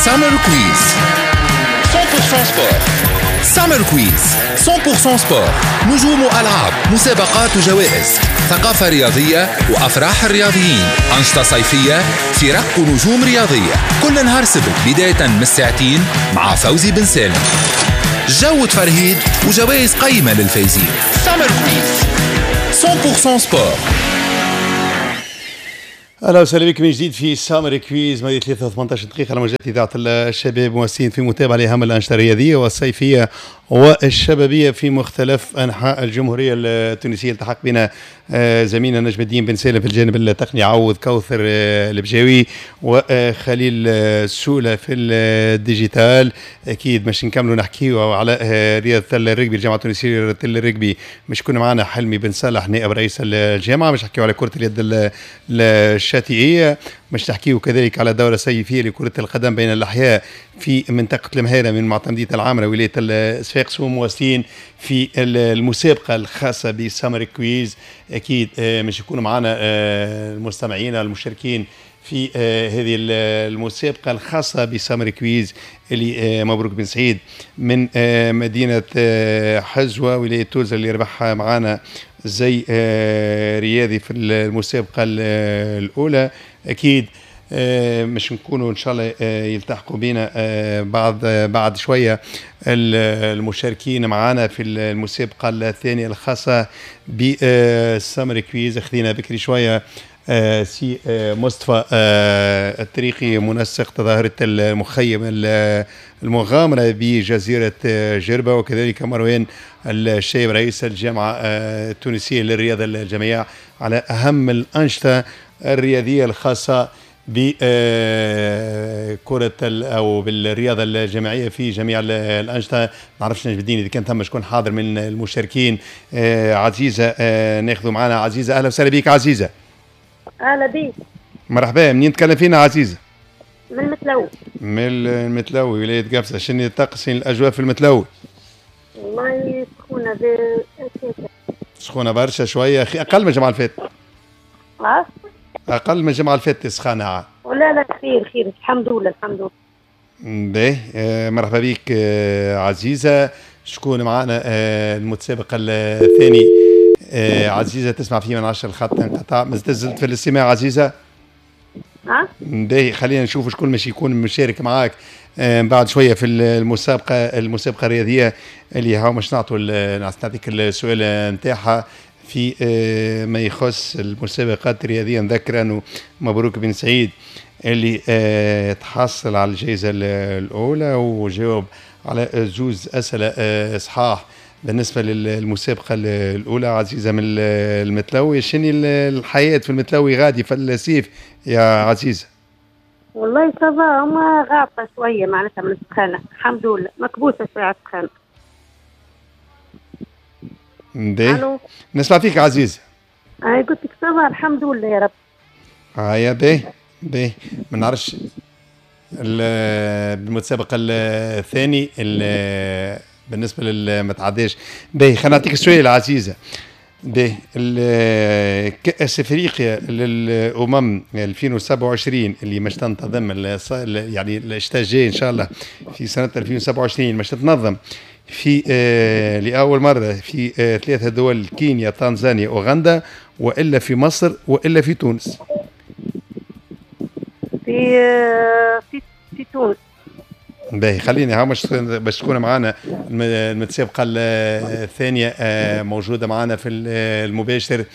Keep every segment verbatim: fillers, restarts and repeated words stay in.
Summer Quiz مية بالمية sport. Summer Quiz مية بالمية sport، نجوم وألعاب، مسابقات وجوائز، ثقافة رياضية وأفراح الرياضيين، أنشطة صيفية، فرق ونجوم رياضية. كل نهار سبت بداية من الساعتين مع فوزي بن سالم، جو تفرهيد وجوائز قيمة للفايزين. Summer Quiz مية بالمية sport. اهلا وسهلا بكم من جديد في Summer Quiz، ماضي ثلاثة ثمنطاش دقيقة على موجات اذاعة الشباب، مواصلين في متابعه لاهم الانشطة الرياضية والصيفيه والشبابيه في مختلف انحاء الجمهورية التونسيه. التحق بنا آه، زميلنا نجم الدين بن سالم في الجانب التقني، عوض كوثر آه، البجاوي وخليل آه، سولة في ال digital. اكيد باش نكملوا نحكيو على رياضة الرجبي، الجامعة التونسية لرياضه الرجبي، مش يكون معنا حلمي بن صالح نائب رئيس الجامعه، باش نحكيو على كره اليد الشاطئيه، باش نحكيو كذلك على الدورة الصيفية لكرة القدم بين الاحياء في منطقة المهيره من معتمديه العامره ولاية الصفاقس، ومواصلين في المسابقة الخاصة ب Summer Quiz. اكيد آه، مش يكونوا معنا آه، المستمعين المشاركين في آه، هذه المسابقة الخاصة ب Summer Quiz، اللي مبروك بن سعيد من مدينة حزوه ولاية توزر اللي ربح معنا زي رياضي في المسابقة الاولى. اكيد مش نكونوا ان شاء الله يلتحقوا بنا بعد بعد شوية المشاركين معنا في المسابقة الثانية الخاصة ب Summer Quiz. خذينا بكري شوية آه، سي آه، مصطفى آه، الطريقي منسق تظاهرة المخيم المغامرة بجزيرة جربة، وكذلك مروان الشايب رئيس الجامعة التونسية للرياضة الجماعية على أهم الأنشطة الرياضية الخاصة بكرة أو بالرياضة الجماعية في جميع الأنشطة. ما نعرفش نجم الدين إذا كان ثم شكون حاضر من المشاركين. عزيزة، ناخذ معنا عزيزة. أهلا وسهلا بك عزيزة. اهلا بيك. مرحبا، منين تكلم فينا عزيزة؟ من المتلوي. من المتلوي ولاية قفصة. شنو الطقس، الأجواء في المتلوي؟ والله سخونة. سخونة برشا شوية، أخي أقل من الجمعة اللي فاتت. أه؟ أقل من الجمعة اللي فاتت سخانة. ولا لا، خير خير، الحمد لله الحمد لله. باهي، آه مرحبا بك آه عزيزة. شكون معنا آه المتسابق الثاني؟ آه عزيزة تسمع فيه من عشر الخط انقطع، ما زلت في الاستماع عزيزة؟ ها؟ باهي، خلينا نشوف شكون مش يكون مشارك معاك آه بعد شوية في المسابقة المسابقة الرياضية اللي هاو مش نعطوا نعطيك السؤال نتاعها في آه ما يخص المسابقات الرياضية. نذكر أنه مبروك بن سعيد اللي آه تحصل على الجائزة الأولى وجاوب على زوز أسئلة آه صحاح بالنسبة للمسابقة الأولى. عزيزة من المتلوي، شنو الحياة في المتلوي غادي في الصيف يا عزيزة؟ والله ça va، هما غاطة شوية معناتها من السخانة، الحمد لله مكبوسة شوية على السخانة. باهي، نسمع فيك عزيزة. أي قلت لك ça va الحمد لله يا رب. هيا باهي باهي، ما نعرفش المتسابق الثاني بالنسبة لل تعداش. باهي، خلينا نعطيك السؤال عزيزه. باهي، كأس افريقيا للامم ألفين وسبعة وعشرين اللي مش تنتظم يعني الشتاء الجاي ان شاء الله في سنة ألفين وسبعة وعشرين، مش تتنظم في آه لاول مرة في آه ثلاثة دول: كينيا، تنزانيا، اوغندا، والا في مصر، والا في تونس؟ في آه، في في تونس. باهي، خليني ها باش باش تكون معنا المتسابقه الثانية آه، موجودة معنا في المباشر.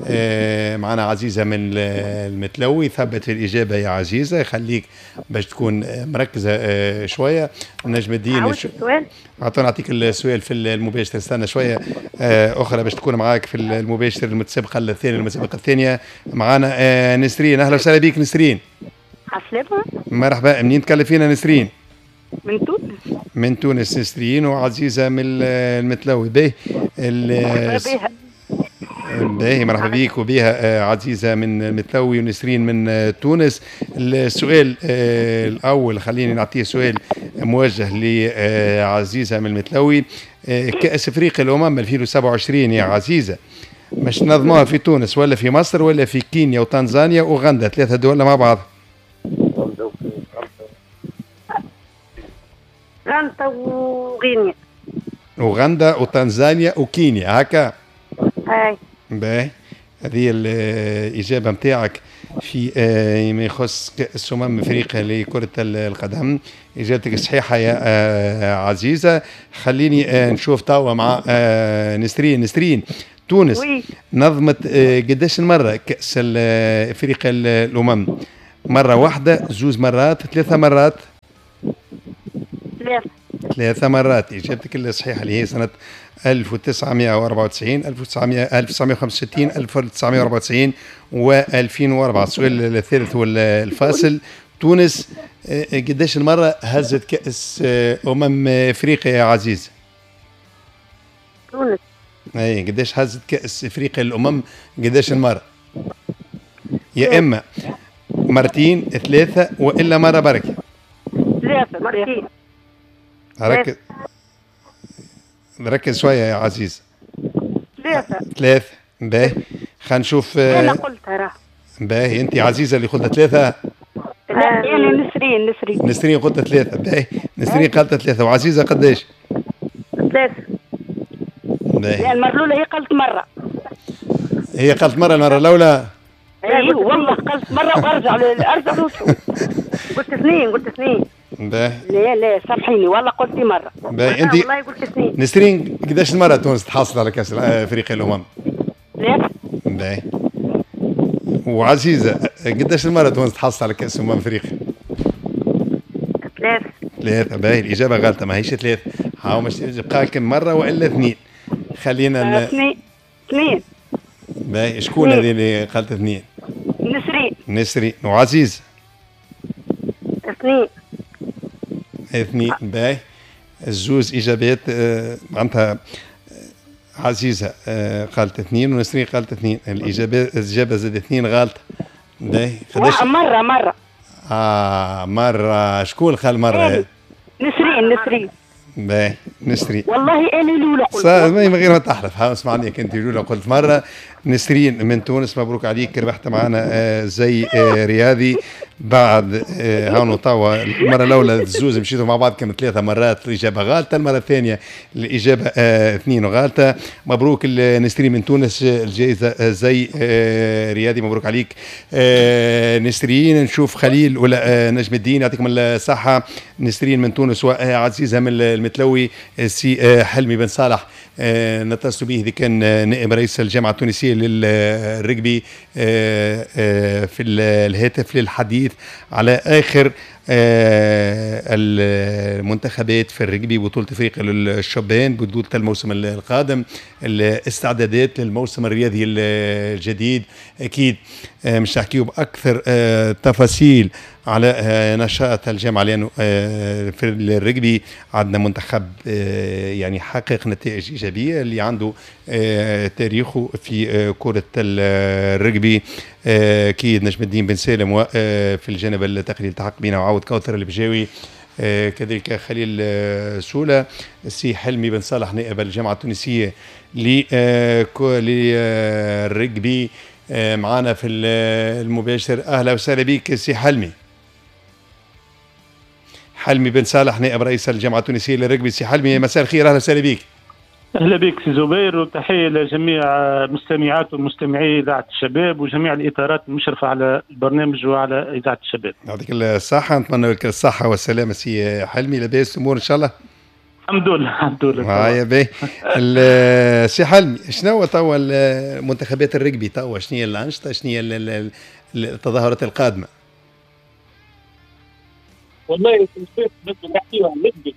آه، معنا عزيزه من المتلوي. ثبت في الاجابة يا عزيزه، خليك باش تكون مركزه آه، شوية. نجم الدين، السؤال. اعطونا نعطيك السؤال في المباشر. استنى شوية اخرى باش تكون معاك في المباشر المتسابقه الثانيه. المتسابقه الثانية معنا نسرين. اهلا وسهلا بك نسرين. عسلامة. مرحبا، منين تكلم فينا نسرين؟ من تونس. من تونس نسرين، وعزيزه من المتلوي. باهي باهي، مرحبا بك وبها آه، عزيزه من المتلوي ونسرين من آه، تونس. السؤال آه، الاول خليني نعطيه سؤال موجه لعزيزه من المتلوي. كاس افريقيا الامم ألفين وسبعة وعشرين يا عزيزه مش نظموها في تونس ولا في مصر ولا في كينيا وتنزانيا واوغندا، ثلاثة دول مع بعض؟ أوغندا وغينيا. أوغندا وتنزانيا وكينيا هكا. اي باهي، هذه الإجابة نتاعك في ما يخص كأس أمم أفريقيا لكرة القدم. إجابتك صحيحة يا عزيزة. خليني نشوف توا مع نسرين. نسرين، تونس oui. نظمت قداش المرة كأس أفريقيا الأمم؟ مرة واحدة، زوز مرات، ثلاثة مرات؟ ثلاثة. ثلاثة مرات. إجابتك الصحيحة اللي هي سنة ألف وتسعمائة وأربعة وتسعين، ألف وتسعمائة وخمسة وستين، ألف وتسعمائة وأربعة وتسعين وألفين وأربعة. السؤال الثالث والفاصل، تونس قداش المرة هزت كأس أمم أفريقيا يا عزيز؟ تونس اي قداش هزت كأس أفريقيا الأمم قداش المرة؟ يا إما مرتين، ثلاثة، وإلا مرة بركة. ثلاثة. مرتين. ركز ركز شوية يا عزيز. ثلاثة. ثلاثة. باهي، خلينا نشوف. أنا قلتها راه. باهي، أنت عزيزة اللي قلتها ثلاثة. لا أنا نسرين. نسرين نسرين قلتها ثلاثة. باهي، نسرين قالت ثلاثة، وعزيزة قداش؟ ثلاثة. باهي. لا المرة الأولى هي قالت مرة. هي قالت مرة المرة الأولى؟ ايوه والله قالت مرة وأرجع أرجع قلت اثنين. قلت اثنين. باهي. لا لا سامحيني والله قلتي مرة. باهي، أنت والله قلت اثنين. نسرين قداش المرة تونس تحصل على كأس أفريقيا الأمم؟ ثلاثة. باهي. وعزيزة قداش المرة تونس تحصل على كأس أمم أفريقيا؟ ثلاثة. ثلاثة. باهي، الإجابة غلطة، ماهيش ثلاثة. هاو مش بقى كم مرة وإلا اثنين. خلينا ن... اثنين. اثنين. باهي، شكون هذه اللي قالت اثنين؟ نسرين. نسرين. وعزيز؟ اثنين. اثنين. باهي، الزوز اجابات معناتها عزيزه قالت اثنين ونسرين قالت اثنين، الاجابة الاجابة زاد اثنين غلط. باهي، قداش؟ مرة مرة. اه مرة. شكون قال مرة؟ نسرين. نسرين. باهي، نسرين. والله انا الاولى قلت. من غير ما تحلف، ها اسمعني انت الاولى قلت مرة. نسرين من تونس، مبروك عليك، ربحت معنا زي رياضي بعد هاونو توا. المرة الاولى الزوز مشيتوا مع بعض كانوا ثلاثة مرات الاجابة غالطه، المرة الثانية الاجابة اثنين غالطه. مبروك نسرين من تونس الجائزة زي رياضي، مبروك عليك نسرين. نشوف خليل ولا نجم الدين، يعطيكم الصحة. نسرين من تونس وعزيزه من المتلوي. سي حلمي بن صالح نتصل به، اذا كان نائب رئيس الجامعة التونسية للرجبي في الهاتف للحديث على آخر المنتخبات في الرجبي، بطولة افريقيا للشبان، بطولة الموسم القادم، الاستعدادات للموسم الرياضي الجديد. أكيد مش نحكيو بأكثر تفاصيل على نشاط الجامعة، لأنه في الرجبي عندنا منتخب يعني حقق نتائج إيجابية اللي عنده تاريخه في كرة الرجبي. أكيد نجم الدين بن سالم، وفي الجانب التقني التحق بنا وعود كوثر البجاوي، كذلك خليل سولة، السي حلمي بن صالح نائب الجامعة التونسية للرجبي معنا في المباشر. أهلا وسهلا بك سي حلمي. حلمي بن صالح نائب رئيس الجامعة التونسية للرجبي. سي حلمي مساء الخير، أهلا وسهلا بك. أهلا بك سي زبير، وتحية لجميع مستمعات ومستمعي إذاعة الشباب وجميع الإطارات المشرفة على البرنامج وعلى إذاعة الشباب. يعطيك الصحة، نتمنى لك الصحة والسلامة سي حلمي. لاباس الأمور إن شاء الله؟ الحمد لله الحمد لله. هيا باهي. سي حلمي، شنو توا منتخبات الرجبي توا، شنو هي الأنشطة، شنو هي التظاهرات القادمة؟ والله كنت نحكيو عن الرجبي،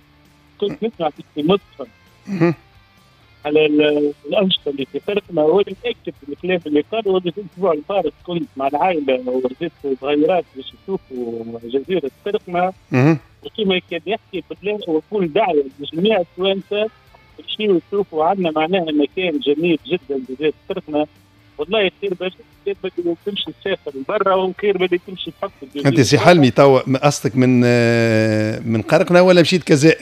كنت نسمع في مصطفى على الأنشطة اللي في فرقنا، هو اللي متأكد الكلام اللي قال. هو الأسبوع الفارط كنت مع العائلة ورزيت صغيرات باش يشوفوا جزيرة فرقنا، وكما كان يحكي بالله ويكون دعوة لجميع التوانسة يمشيو يشوفوا عندنا معناها مكان جميل جدا جزيرة فرقنا. والله خير باش بدي تمشي تسافر لبرا وخير بدي تمشي تحط. أنت سي حلمي توا قصدك من من قرقنا ولا مشيت كزاء؟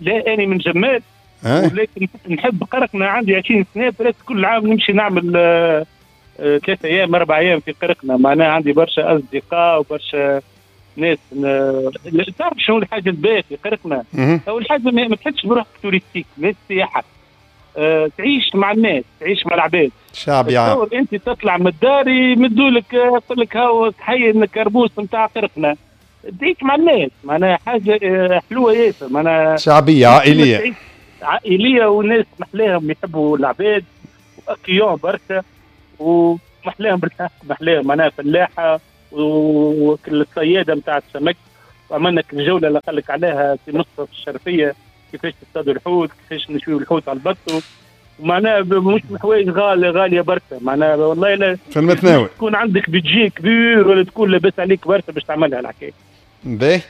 لا أنا من جمال، ولكن نحب قرقنا. عندي عشرين سنة برات كل عام نمشي نعمل ثلاثة ايام اربع ايام في قرقنا، معناها عندي برشا اصدقاء وبرشا ناس تعرف شنو الحاجة الباهيه في قرقنا؟ اول حاجة ما تحسش بروحك touristique، ناس سياحة. أه، تعيش مع الناس، تعيش مع العباد. شعبي عام. انت تطلع من الدار يمدوا لك يقول لك هاو تحيي الكربوس نتاع قرقنا. تعيش مع الناس، معناها حاجة حلوة ياسر، معناها شعبية عائلية. عائلية وناس محلاهم يحبوا العباد و accueillants برشا ومحلاهم بالحق، محلاهم معناها فلاحة والصياده نتاع السمك. وعملنا الجولة اللي قال لك عليها في مصر في الشرفيه، كيفاش تصطادوا الحوت، كيفاش نشويوا الحوت على البطو، ومعناها مش حوايج غالية غالية برشا، معناها والله لا في المتناول تكون عندك budget كبير ولا تكون لاباس عليك برشا باش تعملها الحكاية. باهي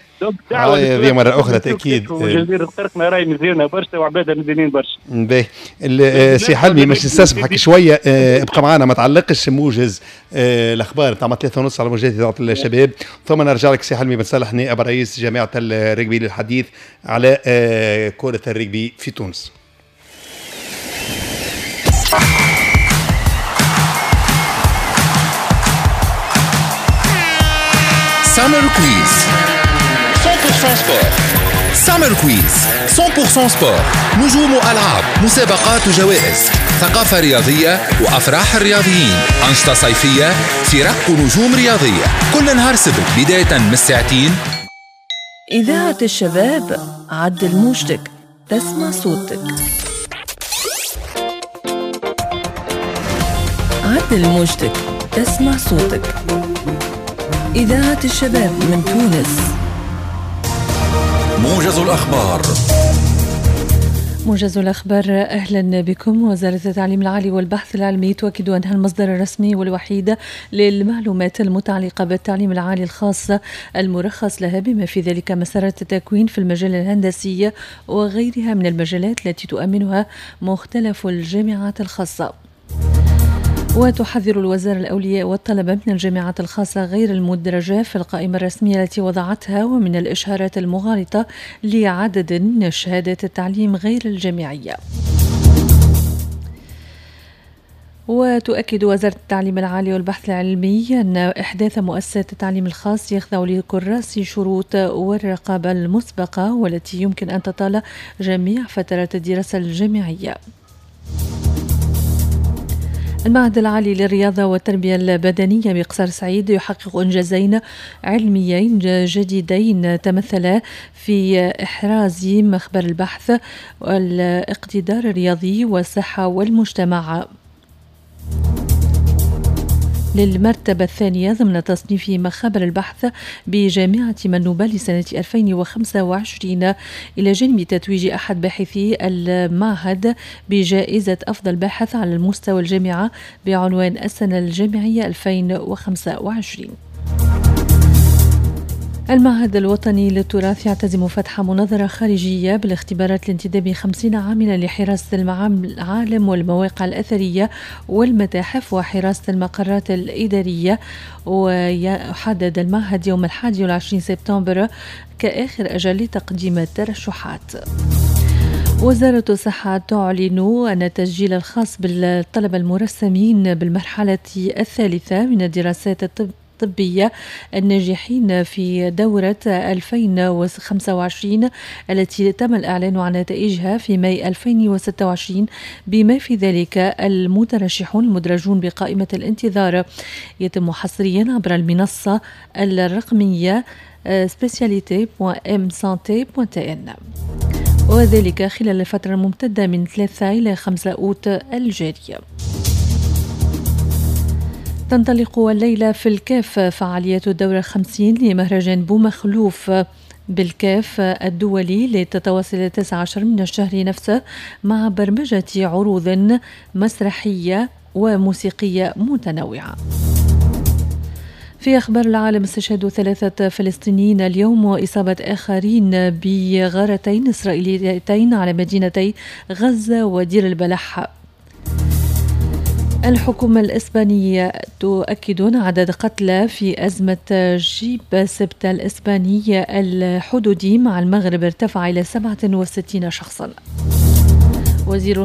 هذه مرة أخرى تأكيد جزيرة قرقنا راهي مزيانة برشا وعبادها مزيانين برشا. باهي سي حلمي باش نستسمحك شوية، ابقى معنا ما تعلقش، موجز الأخبار تاع ثلاثة ونص على موجات إذاعة الشباب، ثم نرجع لك سي حلمي بن صالح نائب رئيس جامعة الرجبي للحديث على كرة الرجبي في تونس. Summer Quiz مية بالمية sport. Summer Quiz مية بالمية sport. نجوم وألعاب، مسابقات وجوائز، ثقافة رياضية وأفراح الرياضيين، أنشطة صيفية، فرق ونجوم رياضية، كل نهار سبت بداية من الساعتين. إذاعة الشباب، عدل موجتك تسمع صوتك. عدل موجتك تسمع صوتك. إذاعة الشباب من تونس. موجز الأخبار. موجز الأخبار، أهلا بكم. وزارة التعليم العالي والبحث العلمي تؤكد أنها المصدر الرسمي والوحيد للمعلومات المتعلقة بالتعليم العالي الخاص المرخص لها، بما في ذلك مسارات التكوين في المجال الهندسي وغيرها من المجالات التي تؤمنها مختلف الجامعات الخاصة. وتحذر الوزارة الأولياء والطلبة من الجامعات الخاصة غير المدرجة في القائمة الرسمية التي وضعتها ومن الإشهارات المغالطة لعدد من شهادات التعليم غير الجامعية. وتؤكد وزارة التعليم العالي والبحث العلمي أن إحداث مؤسسات التعليم الخاص يخضع لكراس شروط والرقابة المسبقة والتي يمكن أن تطال جميع فترات الدراسة الجامعية. المعهد العالي للرياضة والتربية البدنية بقصر سعيد يحقق إنجازين علميين جديدين تمثلا في إحراز مخبر البحث والاقتدار الرياضي والصحة والمجتمع للمرتبة الثانية ضمن تصنيف مخابر البحث بجامعة منوبة لسنة ألفين وخمسة وعشرين، إلى جانب تتويج أحد باحثي المعهد بجائزة أفضل باحث على المستوى الجامعة بعنوان السنة الجامعية ألفين وخمسة وعشرين. المعهد الوطني للتراث يعتزم فتح مناظرة خارجية بالاختبارات لانتداب خمسين عاملا لحراسة المعالم والمواقع الأثرية والمتاحف وحراسة المقرات الإدارية. ويحدد المعهد يوم الحادي والعشرين سبتمبر كآخر أجل لتقديم الترشحات. وزارة الصحة تعلن أن التسجيل الخاص بالطلبة المرسمين بالمرحلة الثالثة من الدراسات الطب الطبية الناجحين في دورة ألفين وخمسة وعشرين التي تم الإعلان عن نتائجها في ماي ألفين وستة وعشرين، بما في ذلك المترشحون المدرجون بقائمة الانتظار، يتم حصريا عبر المنصة الرقمية spécialité دوت m santé دوت n، وذلك خلال الفترة الممتدة من ثلاثة إلى خمسة أوت الجارية. تنطلق الليلة في الكاف فعاليات الدورة الخمسين لمهرجان بومخلوف بالكاف الدولي لتتواصل التاسع عشر من الشهر نفسه مع برمجة عروض مسرحية وموسيقية متنوعة. في أخبار العالم، استشهد ثلاثة فلسطينيين اليوم وإصابة آخرين بغارتين إسرائيليتين على مدينتي غزة ودير البلح. الحكومة الإسبانية تؤكد عدد قتلى في أزمة جيب سبتة الإسبانية الحدودي مع المغرب ارتفع إلى سبعة وستين شخصا. وزير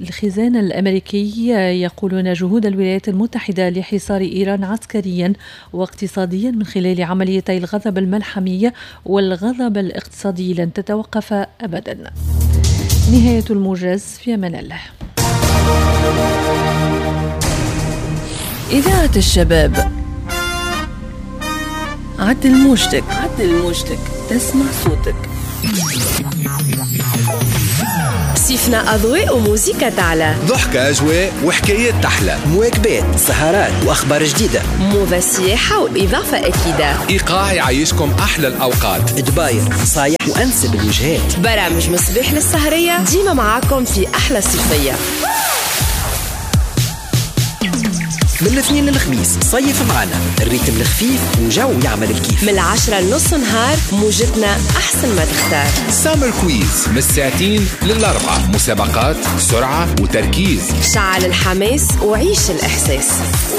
الخزانة الأمريكي يقول أن جهود الولايات المتحدة لحصار إيران عسكريا واقتصاديا من خلال عمليتي الغضب الملحمي والغضب الاقتصادي لن تتوقف أبدا. نهاية الموجز، في أمان الله. إذاعة الشباب، عدل موجتك، عدل موجتك، تسمع صوتك. صيفنا أضواء وموسيقى تعلى، ضحكة أجواء وحكايات تحلى، مواكبات، سهرات وأخبار جديدة، موضة سياحة وإضافة أكيدة، إيقاع يعيشكم أحلى الأوقات، دباير نصايح وأنسب الوجهات، برامج مصباح للسهرية، ديما معاكم في أحلى صيفية. من الاثنين للخميس صيف معنا ال rythme الخفيف وجو يعمل الكيف، من العشرة لنص نهار موجتنا أحسن ما تختار. Summer Quiz من الساعتين للأربعة، مسابقات، سرعة وتركيز، شعل الحماس وعيش الإحساس،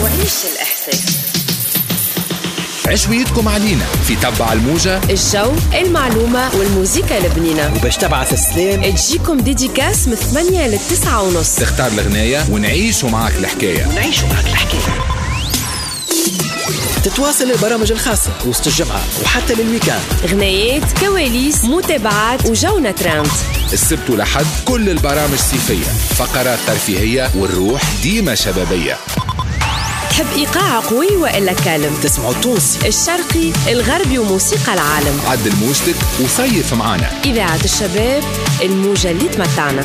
وعيش الإحساس. عشويتكم علينا في تبع الموجة، الجو، المعلومة والموسيقى البنينة، وباش تبعث السلام تجيكم dédicace من ثمانية للتسعة ونص، تختار الغناية ونعيشوا معاك الحكاية، ونعيشوا معاك الحكاية. تتواصل البرامج الخاصة وسط الجمعة وحتى لل week-end، غنايات، كواليس، متابعات وجونا ترند. السبت ولحد كل البرامج صيفية، فقرات ترفيهية والروح ديما شبابية. تحب إيقاع قوي وإلا calme؟ تسمعوا التونسي، الشرقي، الغربي وموسيقى العالم. عدل موجتك وصيف معانا. إذاعة الشباب، الموجة اللي تمتعنا.